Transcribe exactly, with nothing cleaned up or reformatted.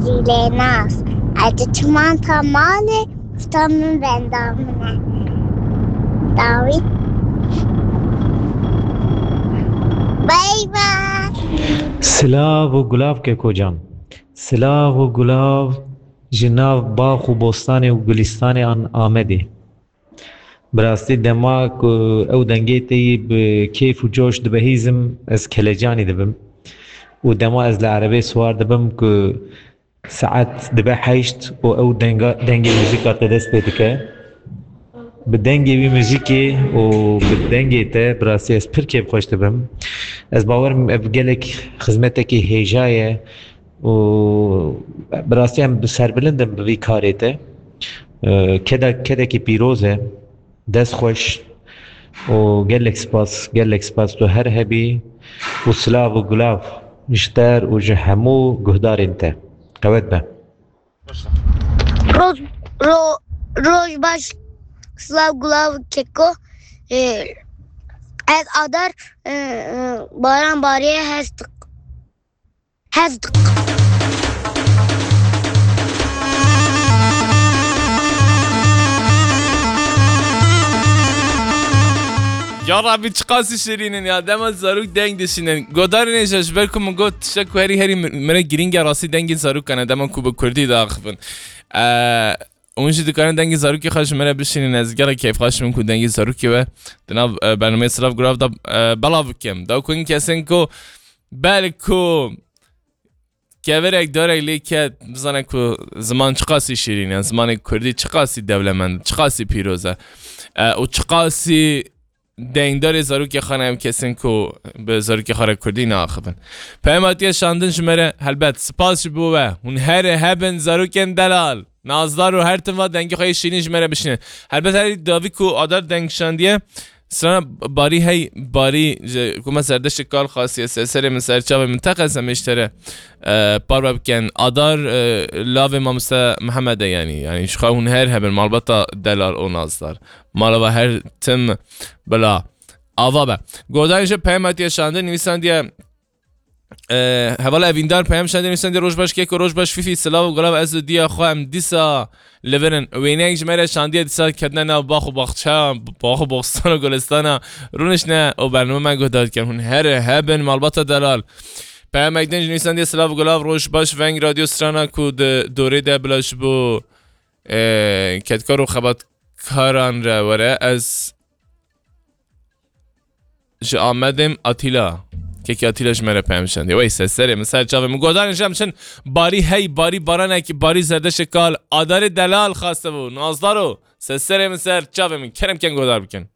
Şîlênaz. Ez diçim ta malê, usta min benda min e. Dawî. Bay bay. Silav û gulav Keko can. Silav û gulav ji nav bax û bostanê û gulîstanê an Amedê. Bi rastî dema ku ew dengê te yî bi kêf û coş dibihîzim, ez kelecanî dibim. Û dema ez li erebê siwar dibim ku saet dibe heşt û ew denga, dengê muzîka te dest pê dike. Bi dengê wî muzîkê û bi dengê te bi rastî ez pir kêfxweş dibim. Ez bawer im ev gelek xizmetekî hêja ye û bi rastî em bi serbilind in bi vî karê te. Ee, keda-, kedekî pîroz e. Dest xweş û gelek spas, gelek spas tu her hebî û silav û gulav ji te û ji hemû guhdarên te. Qewet be. Roj, ro, roj baş, silav gulav Keko. Ee, ez Adar, e, e, baran bariye hestik. Hesdik. Ya Rabbi, çiqasî şirîn in ya. Dema zarok deng dişînin. Godarên hêja, ji ber ku min got tiştek ku herî herî mi-, min re girîng e, rastî dengên zarokan e, dema ku bi kurdî diaxivin. Ee, hûn jî dikarin dengê zarokê xwe ji min re bişînin. Ez gelek keyfxweş im ku dengê zarokê we di nav, e, bernameyê Silav Gulav de, e, belav bikim. Da ku hin kesên ku belku kevirek dorek lê ket, bizane ku ziman çiqasî şîrîn e, zimanê kurdî çiqasî dewlemend, çiqasî pîroz e. E, û çiqasî dengdarê zarokê xwe ne, em kesên ku bi zarokê xwe re kurdî naaxivin. Peyam hatiye şandin ji me re, helbet, spas ji bo we. Hûn her hebin zarokên delal, nazdar û her tim va dengê xwe yê şîrîn ji me re bişînin. Helbet herî davî ku Adar deng şandiye, strana Barî hey, Barî ji ku me Zerdeştê Kal xastiye ser serê min, ser çavê min, teqez em ê ji te re, e, parve bikin. Adar, e, lavê mamoste Mihemed e, yanî, yanî ji xwe hûn her hebin, malbata delal û nazdar. Mala we her tim bila ava be. Godarên ji peyam hatiye şandin, nivîsandiye, e, hevala Evîndar peyam şandin, nivîsandiye, roj baş Keko, roj baş Fîfî, silav û gulav, ez û diya xwe em dîsa li vir in. Wêneyek ji me re şandiye, dîsa ketine nav bax û baxçe, bax û bostan û gulistana. Rûniştine û bername me guhdar dikin. Hûn her hebin, malbata delal. Peyamek din ji nivîsandiye, silav û gulav, roj baş, veng radyo strana ku di dorê de bila ji bo, e, kedkar û xebatkaran re were. Ez ji Amedê im, Atîla. Kekî Atîla ji me re peyam şandiye. Wey, ser serê min, ser çavê min. Godarên ji em çin, Barî hey, Barî baranekî, Barî Zerdeştê Kal, Adarê delal xaste bû. Nazdar o. Ser serê min, ser çavê min. Kerem ken godar bikin.